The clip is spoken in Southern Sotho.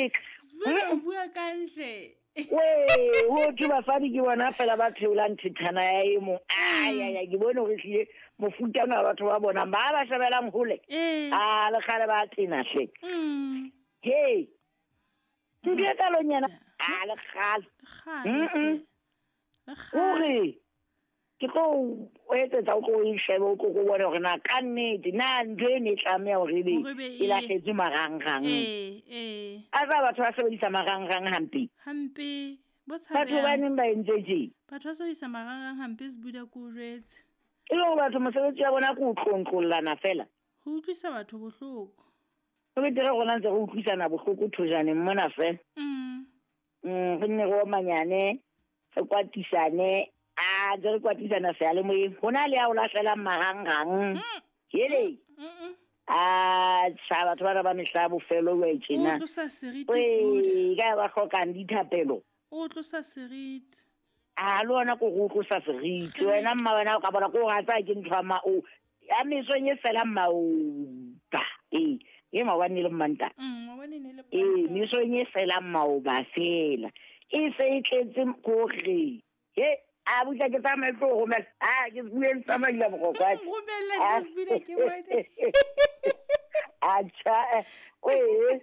leka. Sbuda o bua kantle. Wee, ho thwe basadi ke bona fela ba theolang thethana ya e mong. Ai, ke bone hore ehlile mofuta ona wa batho ba bonang ba ba shebelang hole. Ee. A le kgale ba tena hle. He. Ntho e kalong yena. A le kgale. Kgale. Hle. Le kgale. Hore ke tlo o etsetsa o tlo e shebe o tlo go bone hore na ka nnete na ntho e ne e tlameha hore ebe Hore be e lahletswe marangrang. Ee, ee. A tsa batho ba sebedisa marangrang hampe. Hampe. Bo Batho ba tshabehang. neng ba entse tje. Batho ba sebedisa marangrang hampe Sbuda ke o jwetse. E le hore batho mosebetsi wa bona ke ho tlontlollana fela. Ho utlwisa batho bohloko. Ho betere rona ntse re utlwisana bohloko thojaneng mona fela. Re nne re omanyane, re kwatisane, a ntse re kwatisana seyalemoyeng. Ho na le ya o lahlelang marangrang. Hele. A tjha, batho bana ba mehla ya bofelo jwale tjena. O tlosa seriti, Sbuda. Ee, ka ba hlokang dithapelo. O tlosa seriti. A le ona ko go tlosa seriti. Wena mma wena o ka bona ko o ratsa ke ntho ya ma o ya mesong e fela maoba. Ee, e maobane e le Mmantaha. Maobane e ne le Ee, Mmantaha. mesong e fela maoba fela. E se e tletse kore. He, a butla ke tsamaye ke tlo romela. A ke bue le tsamaile boroko. Nromelle hle Sbuda ke bone. Atjha, ee.